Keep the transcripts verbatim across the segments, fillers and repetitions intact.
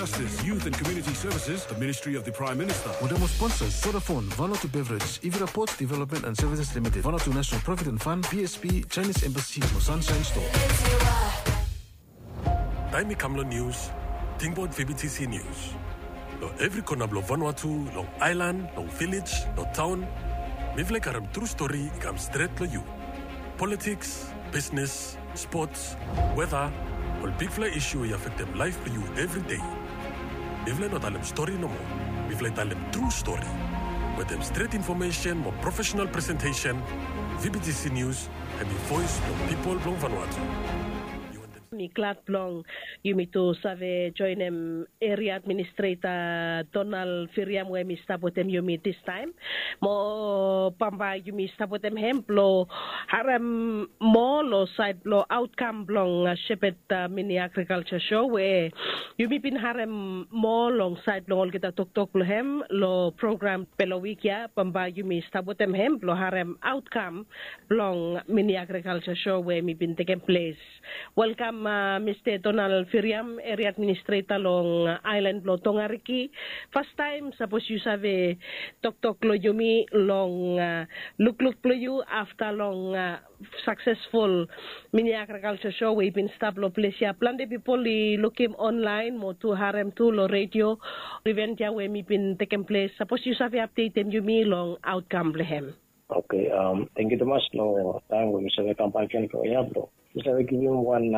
Justice, Youth and Community Services, the Ministry of the Prime Minister. Mo dem mo sponsors, Vodafone, Vanuatu Beverage, Ivira Ports Development and Services Limited, Vanuatu National Provident Fund, B S P, Chinese Embassy, mo Sunshine Store. Taem i kam long nius, tingbaot V B T C News. Long evri kona blong Vanuatu, long aelan, long vilej, long taon, mifala i karem tru stori i kam stret long yu. Politiks, bisnes, spots, weta, ol bigfala isu i afektem laef blong yu evridei. Mifala i no talem stori nomo, mifala i talem tru stori. Wetem stret infomesen mo profesenal presentesen, V B T C News hemi voes blong pipol blong Vanuatu. Mi glad blong yumi tu save joenem Eria Administreta Donald Firiam we hemi stap wetem yumi distaem. Mo bambae yumi stap wetem hem blong harem moa long saed blong aotkam blong Shepad Mini Agrikalja Sho we yumi bin harem moa long saed blong olgeta toktok blong hem long program blong wik ya. Bambae yumi stap wetem hem blong harem aotkam blong Mini Agrikalja Sho we hemi bin tekem ples. Welkam, Mista Donald Firiam, Eria Administreta long aelan blong Tongariki. Fastaem sapos yu save toktok long yumi long lukluk blong yu afta long saksesful Mini Agrikalja Sho we i bin stap long ples ya. Plante pipol i lukim onlaen mo tu harem tu long redio iven ya we hemi bin tekem ples. Sapos yu save apdetem yumi long aotkam blong hem. Oke, tangkiu tumas long taem we mi save kambak gen long ya blong mi save givim wan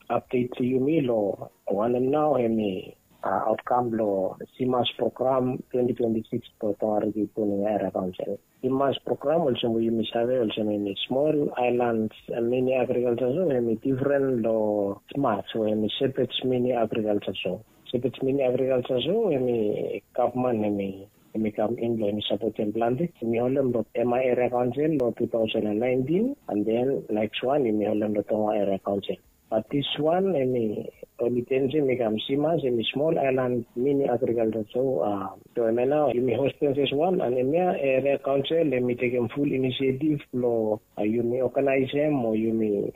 apdet tu yumi long wanem nao hemi aotkam blong CMASH program twenty twenty-six blong Tongariki Puning Eria Kaonsel. CMASH program olsem we yumi save olsem hemi Small Islands Mini Agrikalja Sho, hemi difren long SMASH we hemi Shepad Mini Agrikalja Sho. Shepad Mini Agrikalja Sho hemi gavman hemi hemi kam in blong hemi sapotem plante. Yumi holem long M I Eria Kaonsel long two thousand and nineteen, and then next one yumi holem long Tonga Eria Kaonsel. But this one hemi oli jenis hemi kam CMASH, hemi Small Island Mini Agrikalja Sho. So hemia nao yumi hostem fes wan, and hemia Eria Kaonsel hemi tekem ful inisiativ blong yumi oganaesem o yumi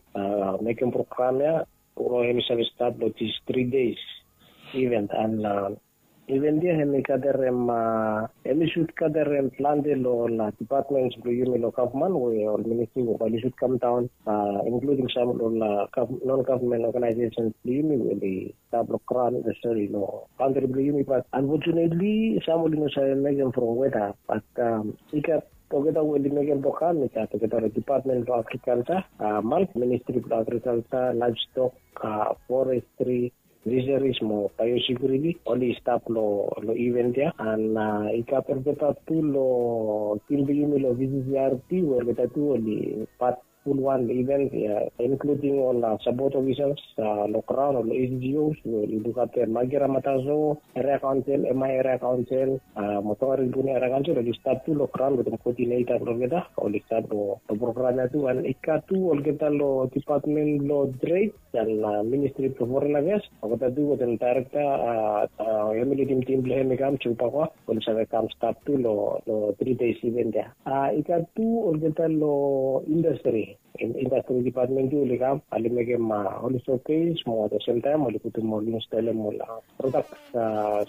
mekem program ya, o hemi save stat long this three days event. And event ya hemi gaterem, hemi sud gaterem plante long ol dipatmens blong yumi long gavman we ol ministri we bae oli sud kamdaon, inkluding sam long ol non gavman oganaesesens blong yumi we oli stap long graon, sori, long kantri blong yumi. But unfortunately sam oli no save mekem from weta. But i gat olgeta we oli mekem program, i gat olgeta long dipatmen blong agrikalja, mal, ministri blong agrikalja, laevstok, forestri, fiseris mo baeosekiuriti, oli stap long event ya. And i gat olgeta tu long tim blong yumi long V C C R T we olgeta tu oli pat fulwan long event ya, inkluding ol sapot ofisas long graon, ol A C G Os we oli lukafta Magira Mataso Eria Kaonsel, M I Eria Kaonsel, mo Tongariki Puning Eria Kaonsel, oli stap tu long graon wetem koodineta blong olgeta, oli stap long program ya tu. And i gat tu olgeta long dipatmen blong tred and ministri blong foren afeas, olgeta tu wetem daerekta hemi lidim tim blong hem i kam, Joe Pakwa, oli save kam stap tu long three days event ya. I gat tu olgeta long indastri, indastri dipatmen tu oli kam, oli mekem ol showcase mo at the same time oli putum, oli instolem ol prodaks,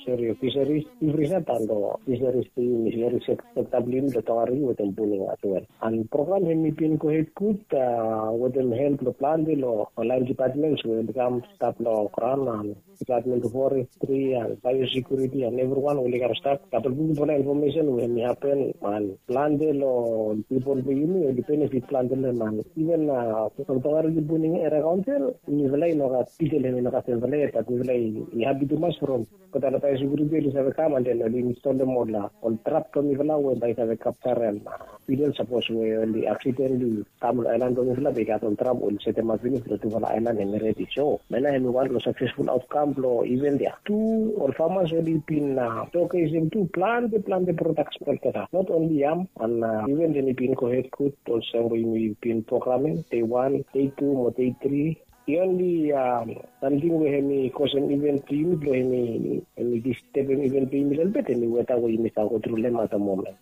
sori, fiseris, evri sat, and fiseris blong yumi, fiseris sekta blong yumi long Tongariki wetem Puning as well. And program hemi bin gohed gud wetem help blong plante long ol laen dipatmens we oli kam stap long graon, and dipatmen blong forestri and baeosekiuriti and evriwan oli kam stap. Gat ol bigfala infomesen we hemi hapen, and plante long pipol blong yumi oli benefit plante long hem. And iven from Tongariki Puning Eria Kaonsel, mifala i no gat, detail hemi no gat semfala yet, but mifala i hapi tumas from olgeta long baeosekiuriti oli save kam and then oli instolem ol, ol trap blong mifala we bae i save kapjarem beetle sapos we oli accidentally kam long aelan blong mifala, bae i gat ol trap oli setemap finis long tufala aelan hemi redi. So hemia nao hemi wan long saksesful aotkam blong event ya. Tu ol famas oli bin showcasem tu plante, plante prodaks blong olgeta, not only yam. And event hemi bin gohed gud olsem we yumi bin programem, dei wan, dei tu mo dei tri. The only samting we hemi kosem event blong yumi blong hemi, hemi distebem event blong yumi lelebet, hemi weta we yumi stap gotru long hem at the moment.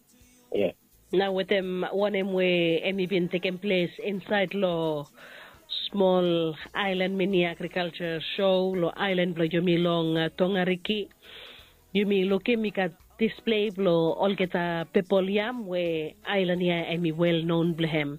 Yes. Nao wetem wanem we hemi bin tekem ples insaed long Smol aelan mini agrikalsa so long aelan blong yumi long tongariki. Yumi lukim i gat displei blong olgeta pepol yam we aelan ya em i wel non blong hem.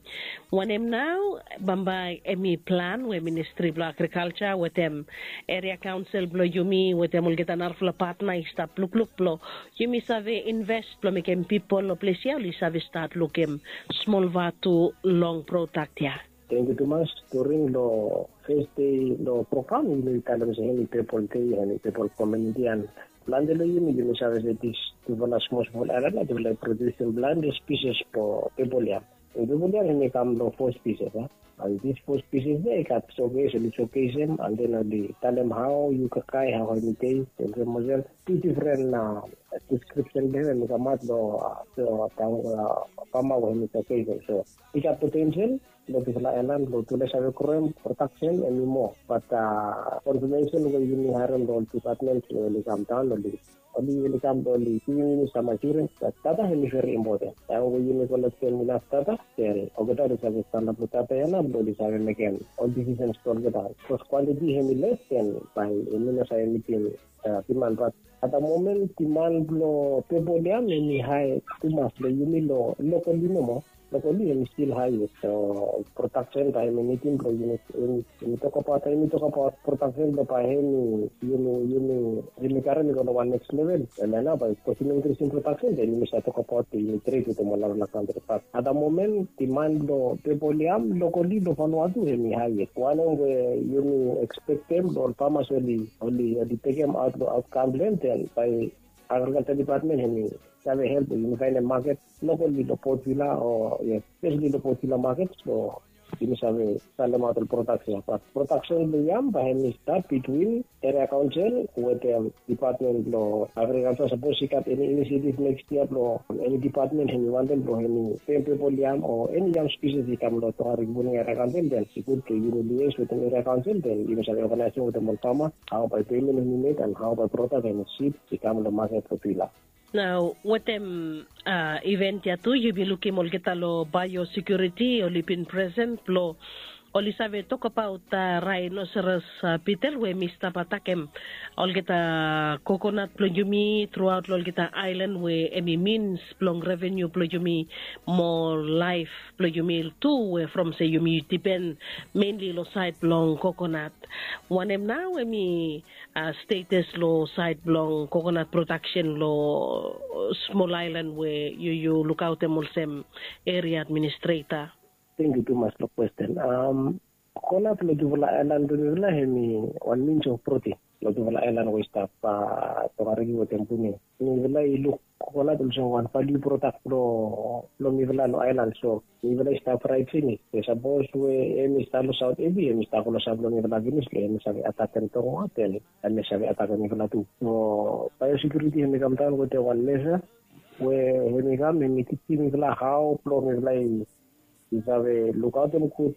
Wanem nau bambae em i plan we ministri blong agrikalsa wetem eria kaonsel blong yumi wetem olgeta narafala patna i stap lukluk blong yumi save invest blong mekem pipol long ples ya oli save stat lukim smol vatu long prodak ya. Tengkiu tumas. During long fes dei long program yumi talem se hemi pepol dei hemi pepol kominiti an plante long yumi yumi save se dis tufala smosmol aelan ya tufala i produsim plante spisis blong pepol ya. Pepol ya hemi kam long fo spisis a an dis fo spisis ya i gat sokes oli sokesem an den oli talem hao yu kakae hao hemi dei olsem olsem tu difren deskripsen blong hem hemi kamaot long taon pama we hemi sokesem so i gat potensel long tufala aelan blong tufala i save kroem prodaksen hemi moa bat konfamesen we yumi harem long ol dipatmen we oli kam daon oli oli kam blong oli givim yumi sam asuren bat data hemi veri impoten taem we yumi kolektem inaf data den olgeta oli save stanap long data ya nao blong oli save mekem ol disisens blong olgeta bikos kwantiti hemi les den bae yumi no save mitim diman bat at da momen diman blong pepol ya hemi hae tumas long yumi long lokoli nomo. Lokoli hemi stil hae yet so prodaksen bae hemi nidim blong yumi yumi tokabaot yumi tokabaot prodaksen blong bae hemi yumi yumi yumi karim i go long wan neks level. Em ya nao bae bikos yumi inkrisim prodaksen den yumi save tokabaot yumi tret wetem ol narafala kantri bat at da momen diman blong pepol ya lokoli long fanua tu hemi hae yet wanem we yumi ekspektem blong ol famas oli oli oli tekemaot long aot kam blong hem den bae agrikalsa dipatmen hemi save help we yumi faenem maket lokoli long potvila o yes spesali long potvila maket blong yumi save salemaot ol prodaksen bat prodaksen blong yam bae hemi stat bitwin eria kaonsel wetem dipatmen blong agrikalsa sapos i gat eni inisiativ neks yia blong eni dipatmen hemi wantem blong hemi pem pepol yam o eni yam spisis i kam long tongariki puning eria kaonsel den i gud blong yumi lies wetem eria kaonsel den yumi save oganaesem wetem ol fama hao bae pemen hemi med an hao bae prodak hemi sip i kam long maket blong pila. Nao wetem iven ya tu yumi lukim olgeta long baeosekiuriti oli bin presen blong oli save tokabaot raenoseros bitel we hemi stap atakem olgeta kokonat blong yumi truaot long olgeta aelan we hemi mins blong revenu blong yumi mo laef blong yumi tu we from se yumi dipen menli long saed blong kokonat. Wanem nao hemi status long saed blong kokonat prodaksen long smol aelan we yu yu lukaotem olsem eria administreta? Tengkiu tumas long kwesten. Kokonat long tufala aelan blong mifala hemi wan mins of proten long tufala aelan we i stap tongariki wetem puning. Mifala i luk kokonat olsem wan valiu prodak blong mifala long aelan so mifala i stap raet finis be sapos we em i stap long saot epi em i stap long saot blong mifala finis be em i save atakem tongo aten em i save atakem mifala tu. So baeosekiuriti em i kamdaon wetem wan mesa we em i kam em i tijim mifala hao blong mifala i save lukaotem gud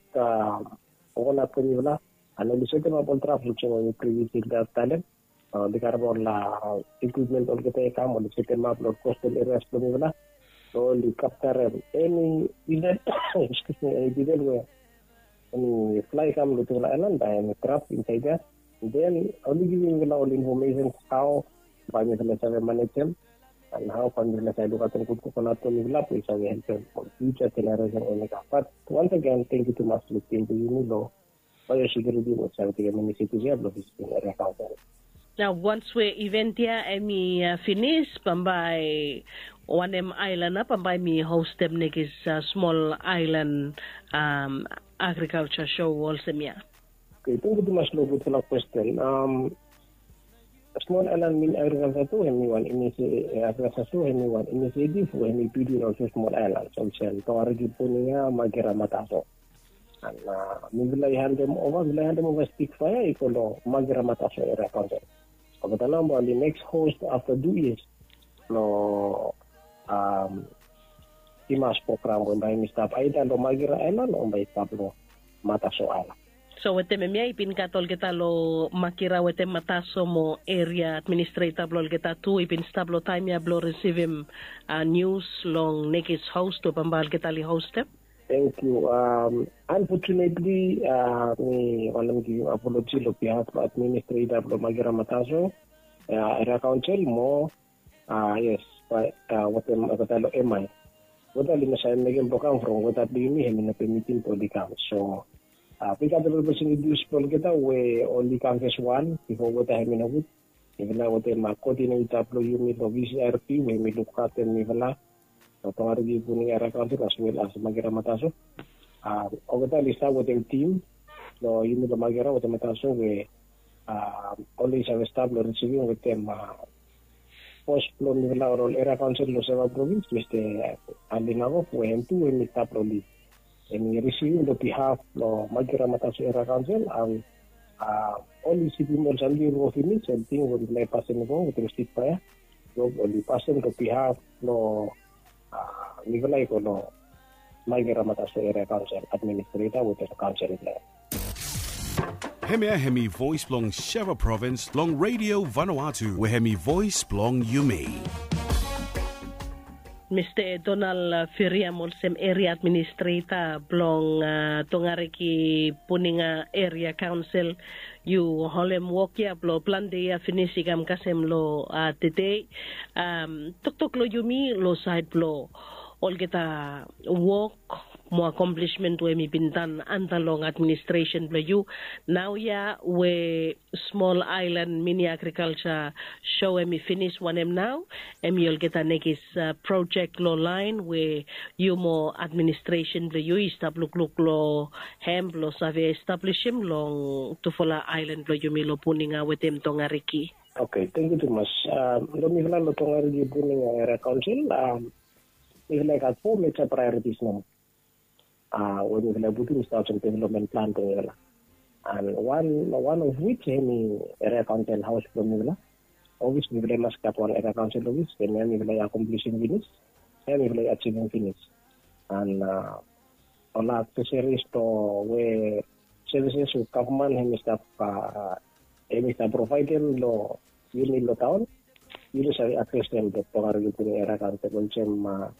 kokonat blong mifala. An oli setemap ol trap olsem we mi privies i talem oli karem ol ikwipmen olgeta i kam oli setemap long kostal erias blong mifala. So oli kaptarem eni dizel, eni dizel we eni fla i kam long tufala aelan bae eni trap insaed ya. Den oli givim mifala ol infomesen hao bae mifala save manejem an hao bae mifala save lukaotem gud kokonat blong mifala blong i save helpem ol fiuja jeneresen we oli kam. Bat wans agen tengkiu tumas long tim blong yumi long baeosekiuriti we oli save tekem inisiativ ya blong visitim eria kaonsel. Nao wans we iven ya em i finis bambae wanem aelan ya bambae mi hostem nekis smol aelan agrikalsa so olsem ya? Oke, tengkiu tumas long gudfala kwesten. Smol aelan mini agrikalsa tu em i wan inisiativ we em i bitwin olsem smol aelan olsem tongariki puning ya, makira, mataso. An mifala i handem ova mifala i handem ova spik faea i go long makira mataso eria kaonsel. Olgeta nao bae oli neks hos afta tu yias long timas program we bae mi stap aida long makira aelan o bae i stap long mataso aelan. So wetem em ya i bin gat olgeta long makira wetem mataso mo eria administreta blong olgeta tu i bin stap long taem ya blong risivim nius long nekis hos we bambae olgeta oli hostem? Thank you. Um, unfortunately, uh, mi wantem givim apology lo behalf lo administrator lo Magera Mataso, uh, area council mo, uh, yes, but uh, wantem kata lo M I. Weta oli no save mekem blong kam from weta blong yumi hemi no pemitim blong oli kam. So, uh, mi gat ol opportunity blong olgeta we oli kam fes wan bifo weta hemi no gud. Mifala wetem coordinator blong yumi long V C R P we hemi lukaftem mifala long Tongariki Puninga Area Council as well as Magera Mataso. Olgeta oli stap wetem tim blong yumi long Magera wetem Mataso we oli save stap long risivim wetem bos blong mifala ol area council long Seva Province, Mista Ali Nagov, we hem tu hemi stap long lid. Hemi risivim long behalf blong Magera Mataso Area Council and oli risivim ol samting i go finis, samting we mifala i pasem i go wetem stik paea. Oli pasem long behalf blong mifala i go long Magera Mataso Area Council administrator wetem council blong hem. Hemia hemi voes blong Seva Provins long Radio Vanuatu we hemi voes blong yumi. Mista Donald Firiam olsem eria administreta blong Tongariki Puninga Eria Kaonsel, yu holem wok ya blong plante yia finis i kam kasem long tede. Toktok long yumi long saed blong olgeta wok mo akomplisimen we hemi bin tan anta long administresen blong yu. Naoia we smol aelan mini agrikalja so hemi finis wanem nao, hemi olgeta nekis projek long laen we yu mo administresen blong yu i stap lukluk long hem blong save establisim long tufala aelan blong yumi long Puninga wetem Tongariki. Oke, tangkiu tumas. Long mifala long Tongariki Puninga Eria Kaonsel, mifala i gat fo meja praeoritis nomo we mifala i putum i stap olsem developmen plan blong mifala. And one, one of which hemi eria kaonsel haos blong mifala. Obvious mifala i mas gat wan eria kaonsel obvious, hemia mifala i akomplisim finis, hemia mifala i ajivim finis. And ol aksesoris blong we services we gavman hemi stap, hemi stap provaedem long yumi long taon, yumi save akses dem long Tongariki Puninga Eria Kaonsel, olsem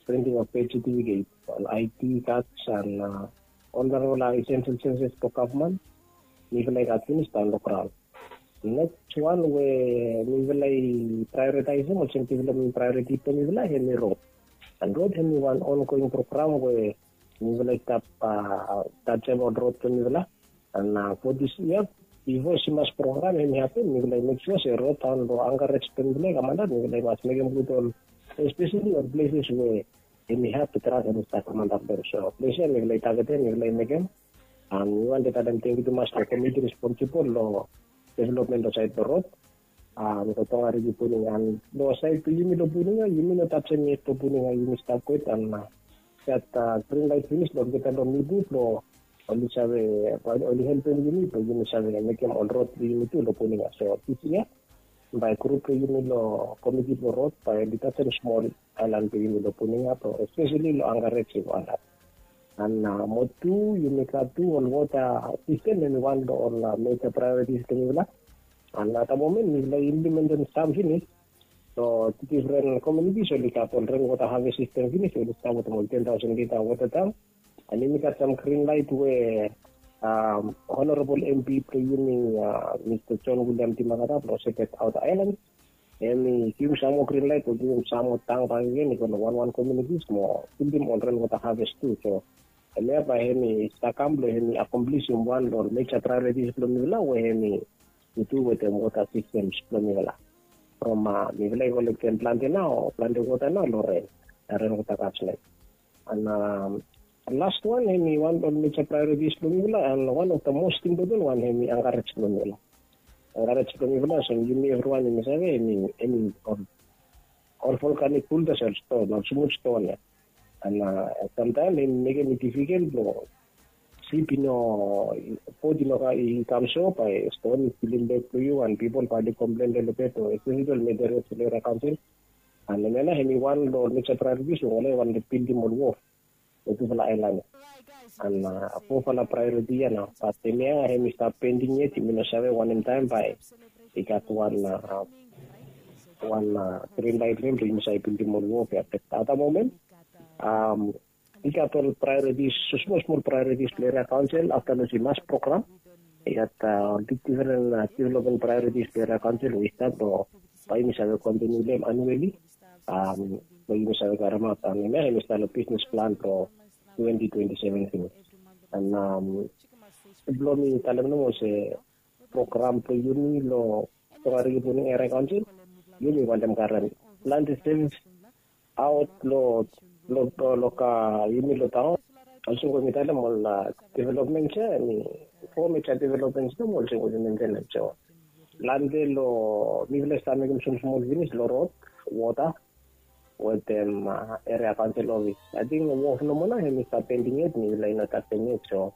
printing of birth certificate, ol I D cards and ol narafala essential services blong gavman. Mifala i gat finis daon long graon. Neks wan we mifala i praeoritaesem olsem developmen praeoriti blong mifala hemi rod. And rod hemi wan ongoing program we mifala i stap tajem ol rod blong mifala. And fo dis yia, bifo Simas program hemi hapen, mifala i mek sua se rod daon long ankarej blong mifala i kam antap, mifala i mas mekem gud ol, espeseli ol pleses we hemi hap blong trak hemi stap kam antap long. So ples ya mifala i tagetem, mifala i mekem. And mi wantem talem tangkiu tumas long komiti responsibol long developmen long saed blong rod. Long Tongariki Puninga, long saed blong yumi long Puninga, yumi no tajem yet long Puninga, yumi stap kwet and gat grin laet finis long olgeta long mipu blong oli save, oli helpem yumi blong yumi save mekem ol rod blong yumi tu long Puninga. So dis yia bae grup blong yumi long komiti blong rod bae oli tajem smol aelan blong yumi long Puninga, blong espeseli long ankarej i go antap. And mo tu yumi gat tu ol wota sistem, hemi wan long ol meja praeoritis blong mifala. And at the moment mifala i implementem sam finis long difren komunitis, oli gat ol renwota haves sistem finis, oli stap wetem ol ten taosen lita wota tank. And yumi gat sam grin laet we Honorabol M P blong yumi, Mista John William Dimakata blong Shepherd Outer Island, hemi givim sam moa grin laet blong givim sam moa tank bakegen i go long wanwan komunitis mo bildim ol renwota haves tu. So hemia bae hemi stap kam blong hemi akomplisim wan long ol meja praeoritis blong mifala we hemi tu wetem wota sistems blong mifala. From mifala i kolektem plante nao, plante wota nao long ren, renwota katslek. And last wan hemi wan long ol meja praeoritis blong mifala, and wan of the most impoten wan hemi ankarej blong mifala. Ankarej blong mifala olsem yumi evriwan yumi save hemi, hemi ol volkanik buldas, ol ston, ol smul ston ya. And samtaem hemi mekem i difikel blong sip i no, bot i no kam, i kam so bae ston i pilim bek blong yu and pipol bae oli komplen lelebet o espeseli ol meja praeoritis blong eria kaonsel. And hemia nao hemi wan long ol meja praeoritis we oli wantem bildim ol wok long tufala aelan ya. And fofala praeoriti ya nao, bat hemia hemi stap pending yet, yumi no save wanem taem bae i gat wan, wan grin laet blong yumi save bildim ol wok ya. Bat at the moment i gat ol priorities, smol smol priorities blong area council afta long si mas program. I gat ol big different development priorities blong area council we i stap long bai yumi save kontinu long em annually. Bai yumi save karemaot, em ya em i stap long business plan blong twenty twenty-seven finish. And blong mi talem nomo se program blong yumi long Tongariki Puninga Area Council, yumi wantem karem planti service aot long long long ka yumi long taon. Olsem we mi talem ol developments ya, em i four major developments nomo olsem we yumi mentenem. So plante long mifala i stap mekem smol smol finis long rod, wota, wetem area council office. Ating wharf nomo nao em i stap pending yet, mifala i no taksem yet. So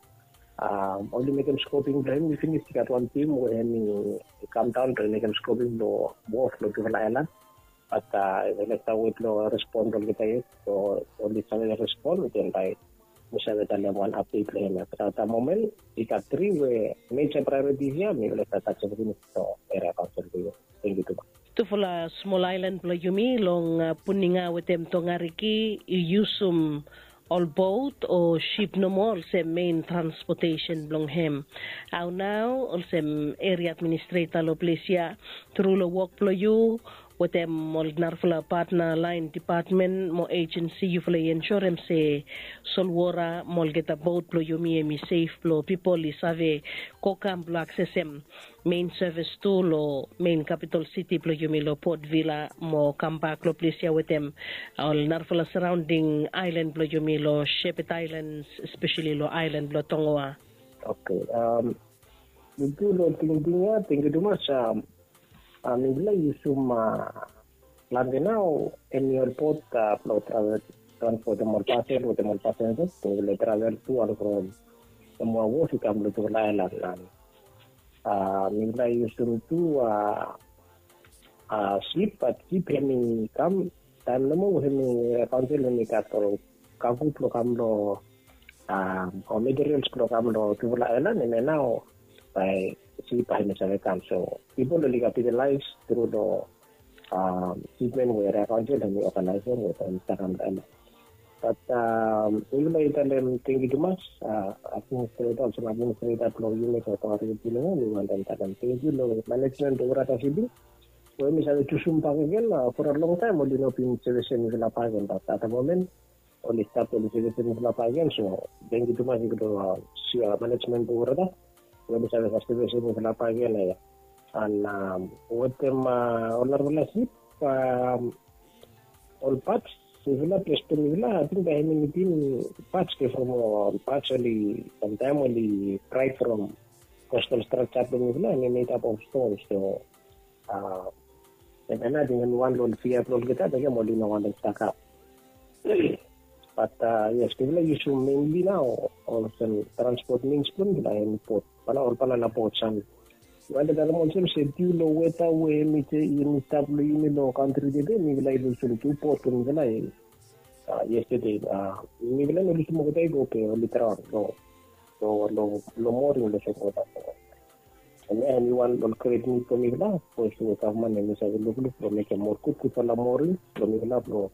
oli mekem scoping blong em i finis, i gat wan tim we em i kam daon blong mekem scoping blong wharf long tufala aelan. Bat mifala i stap wet long respon blong olgeta yet. So oli save respon, den bai mi save talem wan update long em ya. Bat at the moment i gat tri we major priorities ya mifala i stap taksem finis long area council blong yumi. Thank you tumas. Tufala smol aelan blong yumi long Puninga wetem Tongariki i yusum ol bot o sip nomo olsem mein transportesen blong hem. Hao nao olsem eria administreta long ples ya, tru long wok blong yu wetem ol narafala patna laen depatmen mo ejensi, yufala i ensurem se solwota mo olgeta bot blong yumi em i sef blong pipol i save go kam blong aksesem mein sevis tu long mein kapital siti blong yumi long Port Vila mo kambak long ples ya wetem ol narafala saraonding aelan blong yumi long Shepherd Islands, espeseli long aelan blong Tongoa. Oke. Tangkiu long tingting ya, tangkiu tumas. Mifala i yusum plante nao em i ol bot blong travel, transpotem ol pasel wetem ol pasenja. Mifala i travel tu ol from Samoa Wharf i kam long tufala aelan. Mifala i yusum tu sip, bat sip em i kam taem nomo we em i kaunsil em i gat ol kago blong kam long o materials blong kam long tufala aelan, em ya nao bae sip bae em i save kam. So pipol oli kapitalaes tru long shipment we area kaunsil em i oganaesem we bae i stap kam long aelan. Bat mifala i talem tangkiu tumas, administreta, olsem administreta blong yumi blong Tongariki Puninga, mi wantem talem tangkiu long manejmen blong Urata Shipping we mi save jusum bakegen. For a long taem oli no bin sevisim mifala bakegen, bat at the moment oli stap, oli sevisim mifala bakegen. So tangkiu tumas i go long manejmen blong Urata we oli save sevisim mifala bakegen. An wetem ol narafala sip, ol pats, mifala, ples blong mifala, ating bae em i nidim pats, ke from ol pats oli, samtaem oli praet from coastal structure blong mifala, em i made up of stone. So em ya nao ating em i wan long ol fia blong olgeta, bekem oli no wantem stakap. Bat yes, mifala i yusum mainly nao olsem transport means blong mifala em i bot, ol banana boat sam. Mifala i talem olsem se diu long weta we em i stap long yumi long kantri tede, mifala i lusum tu bot blong mifala yestede. Mifala i no lusum olgeta i go, be oli draon long moring long solwota. Em ya em i wan long gret nid blong mifala, sapos we gavman em i save lukluk blong mekem moa gudgudfala moring blong mifala, blong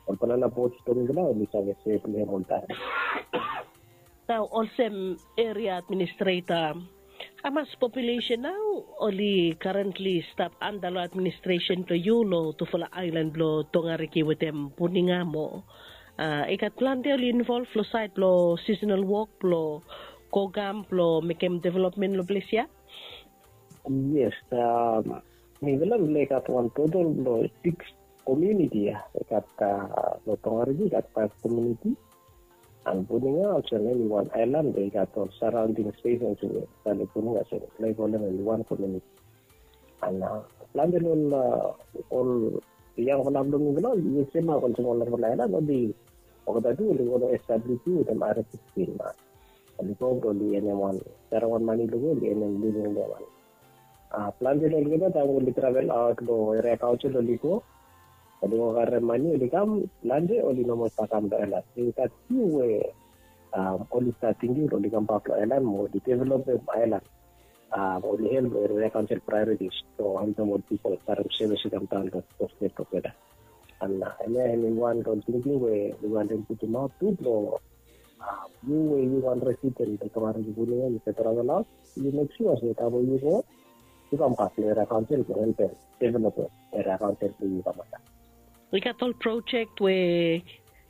ol banana boats blong mifala oli save sef long hem oltaem. Nao olsem eria administreta, hamas populesen nao oli karentli stap anda long administresen blong yu long tufala aelan blong Tongariki wetem Puninga mo i gat plante oli involv long saed blong sisenal wok blong go kam blong mekem developmen long ples ya? Yes, mifala, mifala i gat wan totol blong sikis komuniti ya. I gat long Tongariki i gat faef komuniti. An Puninga olsem em i wan aelan we i gat ol saraonding stesens we i stap long Puninga, so mifala i kolem em i wan komuniti. An plante long ol yangfala blong mifala oli yesem olsem ol narafala aelan, oli olgeta tu oli go long S W P wetem R F sixteen. Oli go blong oli enem wan seremoni, oli go oli enem living long wan. Plante long olgeta taem oli travel aot long eria kaunsil oli go, oli go karem mane oli kam, plante oli no moa stap kam long aelan. I gat fiu we oli stap tingting blong oli kambak long aelan mo oli developem aelan. Oli help long eria kaunsil priorities blong helpem ol pipol karem sevis i kam daon long stet olgeta. An Em i wan long tingting we mi wantem putumaot tu blong yu we yu wan resident blong Tongariki Puninga, yu travel aot, yu mek sua se taem we yu go, yu kambak long eria kaonsel blong helpem developem eria kaonsel blong yu kambak. I gat ol projek we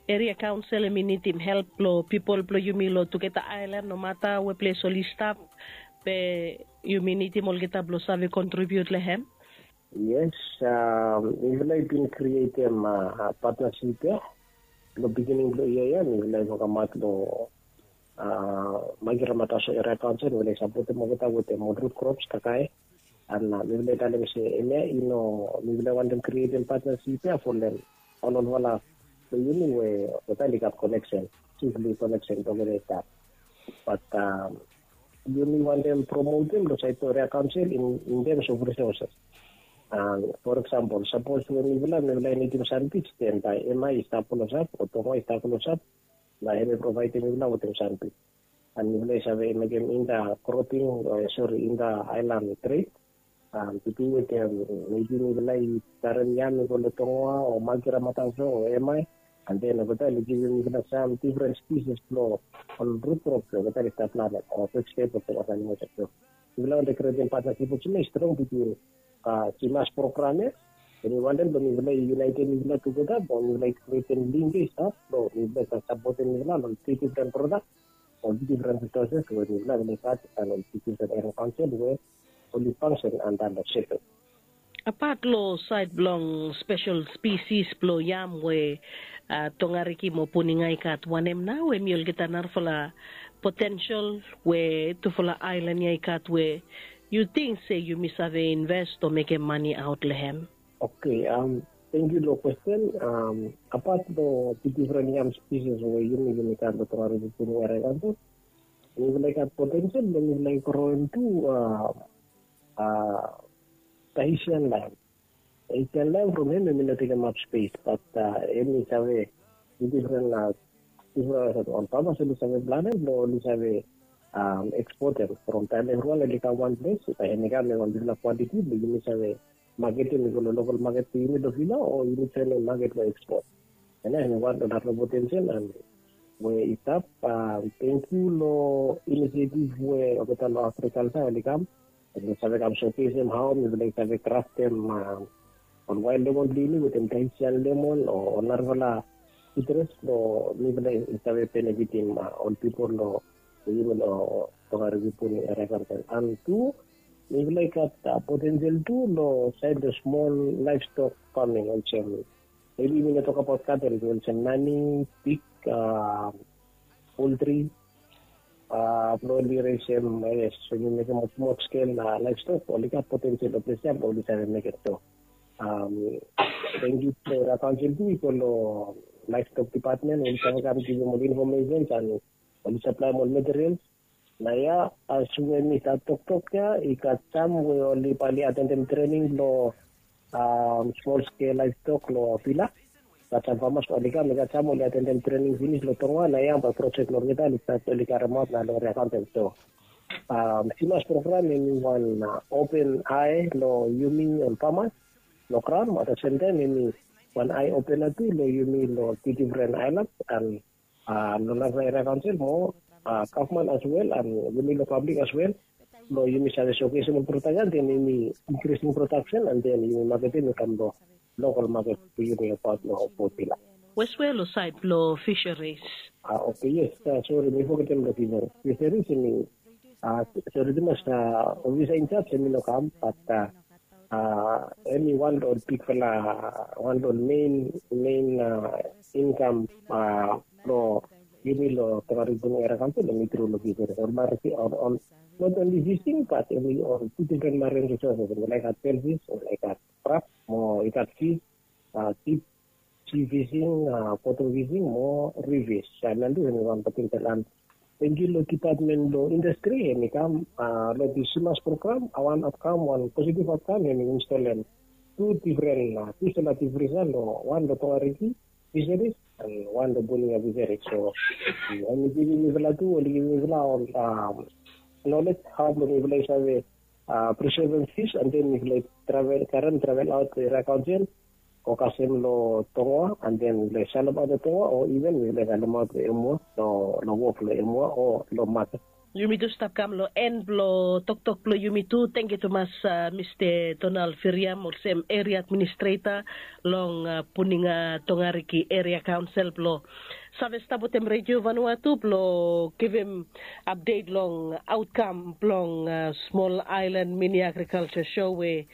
eria kaonsel em i nidim help blong pipol blong yumi long tugeta aelan, nomata we ples oli stap, be yumi nidim olgeta blong save kontribiut long hem. Yes, mifala i bin krietem patnasip ya. Long bigining blong yia ya mifala i wokemaot long Magira Mataso Eria Kaonsel, mifala i sapotem olgeta wetem ol rut krops kakae. An mifala i talem se hemia i no, mifala i wantem krietem patnasip ya folem ol olfala blong yumi we olgeta oli gat koneksen, sifli koneksen blong olgeta i stap. Bat yumi wantem promotem long saed blong eria kaonsel in terms of resources. For example, sapos we mifala mifala i nidim sandbij, then bae hemia i stap klosap o Tonga i stap klosap, na hem i provaedem mifala wetem sandbij. An mifala i save mekem inter cropping, sori, inter island trade. Biting wetem, mebi mifala i karem yam i go long Tonga o Magira Mataso o hemia, an then olgeta oli givim mifala sam difren spisis blong ol rut krop blong olgeta oli stap planem o vegetable blong olgeta animals. Mifala wantem krietem patnasip olsem ya i strong bitwin Simas program ya. Em i wantem blong mifala i unitem mifala tugeta blong mifala i krietem link ya i stap blong mifala i save sapotem mifala long tri difren prodak o tri difren resources we mifala i gat long tri difren eria kaonsel we oli fanksen anda long SEPEC. Apat long saed blong spesel spisis blong yam we Tongariki mo Puninga i gat, wanem nao hemi olgeta narafala potensel we tufala aelan ya i gat we yu ting se yumi save invest o mekem mane aot long hem? Oke, tangkiu long kwesten. Apat long difren yam spisis we yumi yumi gat long Tongariki Puninga eria kaonsel, mifala i gat potensel blong mifala i groem tu Tahitian lime. Tahitian lime from hem hemi no tekemap spes, bat hemi save difren, difren ol famas oli save planem blong oli save ekspotem from taem evriwan oli kam wan ples, bae hemi kam long wan bigfala kwantiti blong yumi save maketem i go long lokal maket blong yumi long vila o yumi joenem maket blong ekspot. Hemia hemi wan long narafala potensel we i stap. Tangkiu long inisiativ we olgeta long agrikalsa oli kam, oli save kam sokesem hao mifala i save kraftem ol wael lemon blong yumi wetem Tahitian lemon o narafala sitrus blong mifala i save benefitim ol pipol long yumi long Tongariki Puninga eria kaonsel. An tu mifala i gat potensel tu long saed long smol laevstok faming olsem, mebi mi no tokbaot katel be olsem nani, pig, poltri, blong oli resem, yes, oli mekem ol smol skel laevstok, oli gat potensel long ples ya blong oli save mekem so. Tangkiu blong eria kaonsel tu i go long laevstok dipatmen, oli save kam givim ol infomesens an oli saplaem ol materials. Naoia as we mi stap toktok ya, i gat sam we oli bae oli atendem trening long smol skel laevstok long vila. Gat sam famas oli kam, i gat sam oli atendem trening finis long Tonga. Naoia bae projek blong olgeta oli stat, oli karemaot nao long eria kaonsel. So Simas program hemi wan open ae long yumi ol famas long graon, at the same time hemi wan ae opena tu long yumi long difren aelan an long narafala eria kaonsel mo gavman as wel an yumi long pablik as wel, blong yumi save sokesem ol prodak ya, then yumi inkrising prodaksen an then yumi maketem i kam long lokal maket blong yumi abaot long Port Vila. Wes we long saed blong fisheries? Oke, yes, sori, mi fogetem long fisheries. Fisheries hemi, sori tumas, ofisa injaj hemi no kam, bat hemi wan long ol bigfala, wan long ol mein, mein inkam blong yumi long Tongariki Puninga eria kaonsel, hemi tru long fisheries. Ol marine, ol, ol, not only fishing, bat hemi ol tu difren marine resources. Hemi laik gat shellfish, hemi laik gat crab, mo i gat fish, deep sea fishing, bottom fishing mo reef fish. Hemia tu hemi wan potensel an tangkiu long dipatmen blong indastri, hemi kam long dis Simas program, a wan aotkam, wan positiv aotkam, hemi instolem tu difren, tu sola deep freezer long wan long Tongariki fisheries an wan long Puninga fisheries. So hemi givim mifala tu, oli givim mifala ol knowledge hao blong mifala i save preservem fish, an then mifala i travel, karem travel aot eria kaonsel Fokasim long tongoa, and then long salemaot long tongoa o even we laik salemaot long emua, long wok long emua o long maket. Yumi tu stap kam long en blong toktok blong yumi tu. Tengkiu tumas, mista donald firiam olsem eria administreta long puninga tongariki eria kaonsel blong save stap wetem redio vanua tu blong givim apdet long autkam blong smol ailan mini agrikalsa sho we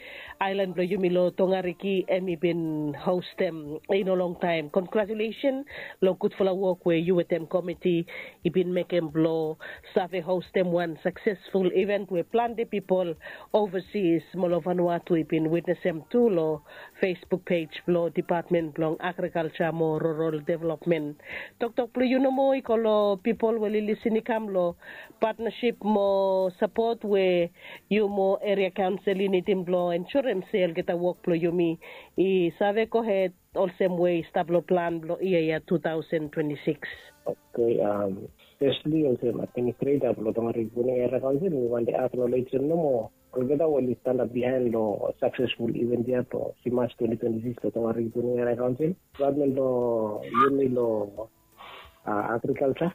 ailan blong yumi long tongariki em i bin hostem i no longtaim. Kongratulesen long gudfala wok we yu wetem komiti i bin mekem blong save hostem wan saksesful iven we plante pipol ovasis mo long vanua tu i bin witnesem tu long facebook pej blong dipatmen blong agrikalsa mo rural developmen. Toktok blong yu nomo i go long pipol we lisin i kam long patnasip mo sapot we yu mo eria kaonsel i nidim blong ensurem se olgeta wok blong yumi i save gohed olsem we i stap long plan blong yia ya tu taosen twenti sikis. Oke. Fesli olsem administreta blong tongariki puninga eria kaonsel mi wante aknolejem nomo olgeta we oli stanap bihain long saksesful iven ya blong simas twenti twenti sikis long tongariki puninga eria kaonsel, dipatmen blong yumi long agrikalsa,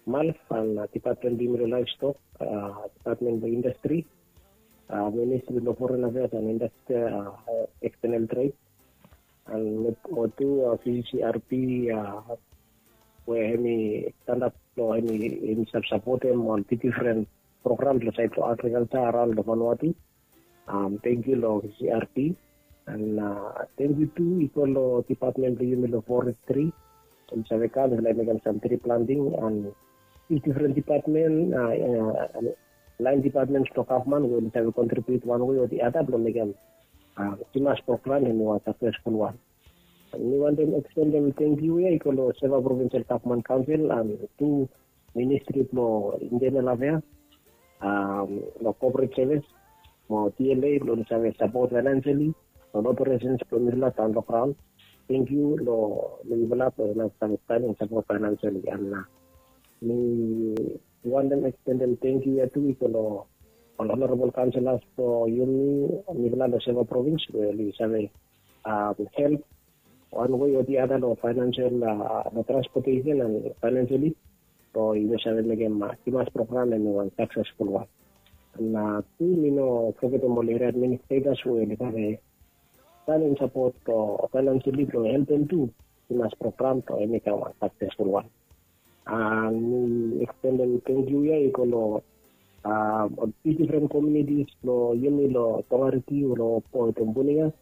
malf and dipatmen blong yumi long laivstok, dipatmen blong indastri, ministri blong foren afeas and indastri, ekstenel tred, and mo tu vccrp we hem i stanap blong hem i save sapotem ol difdifren program blong saed blong agrikalsa araon long vanua tu. Tengkiu long vccrp and tengkiu tu i go long dipatmen blong yumi long forestri. Hem i save kam hem i laik mekem sam tri planting and difdifren dipatmen, laen dipatmen blong gavman we oli save kontribiut wan we o di ada blong mekem simas program hem i wan saksesful wan. Mi wantem ekstendem tengkiu ya i go long seva provinsel gavman kaonsel and tu ministri blong intenel afeas, long kopret sevis mo dla blong oli save sapot fainanseli long operesens blong mifala daon long graon. Tengkiu long mifala blong oli save stanem sapot fainanseli and mi wantem ekstendem tengkiu ya tu i go long ol honorabol kaonselas blong yumi, mifala long seva provins we oli save help wan we o di ada long fainansel, long transpotesen and fainanseli blong yumi save mekem simas program hem i wan saksesful wan. And tu mi no fogetem ol eria administretas we oli save stanem sapot blong fainanseli blong helpem tu simas program blong hem i kam wan saksesful wan. Mi ekstendem tengkiu ya i go long ol difdifren kominitis blong yumi long tongariki o long poetem puninga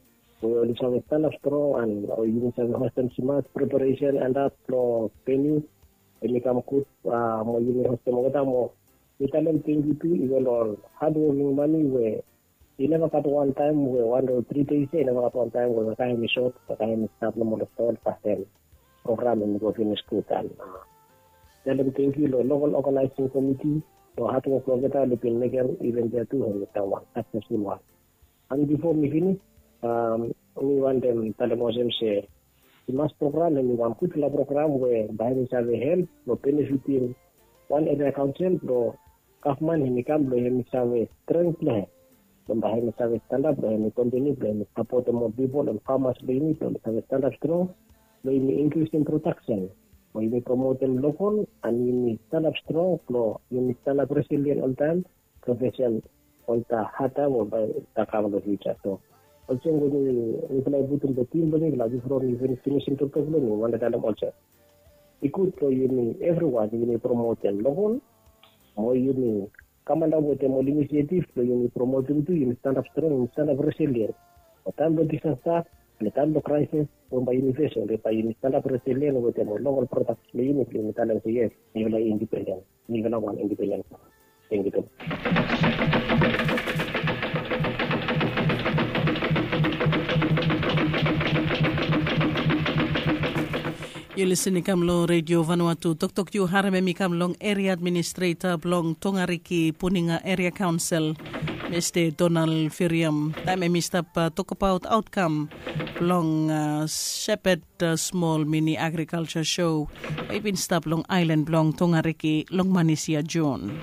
we oli save stanap strong and yumi save hostem simas preparesen and ap blong veniu hem i kam gud mo yumi hostem olgeta mo mi talem tengkiu tu i go long ol hadwoking mami we i neva gat wantaem we wan o tri des ya i neva gat wantaem we waka hem i sot, waka hem i stap nomo long ston, kasem program hem i go finis gud. And talem tengkiu long lokol oganaesing komiti long hadwok blong olgeta oli bin mekem iven ya tu hem i kam wan saksesful wan. And bifo mi finis, mi wantem talem olsem se simas program hem i wan gudfala program we bae hem i save help long benefitim wan eria kaonsel blong gavman hem i kam blong hem i save streng blong hem blong bae hem i save stanap blong hem i kontiniu blong hem i sapotem ol pipol ol famas blong yumi blong oli save stanap strong blong yumi inkrisim prodaksen mo yumi promotem lokol and yumi stanap strong blong yumi stanap resilien oltaem blong fesem ol ta hadtaem we bae ta kam long fiuja. So olsem we mifala i putum long tim blong mifala bifo mi finisim toktok blong mi wantem talem olsem i gud blong yumi evriwan yumi promotem lokol mo yumi kamantap wetem ol inisietif blong yumi promotem tu yumi stanap strong yumi stanap resilien. Long taem blong disasta, long taem blong kraesis we bae yumi fesem, bae yumi stanap resilien wetem ol lokol prodaks blong yumi blong yumi talem se yes, mifala i indipenden. Mifala wan indipenden. Tengkiu tu. Yu lisin i kam long redio vanua tu toktok yu harem hem i kam long eria administreta blong tongariki puninga eria kaonsel, mista donald firiam taem hem i stap tokabaot autkam blong sepet smol mini agrikalsa sho we i bin stap long ailan blong tongariki long manis ya jon.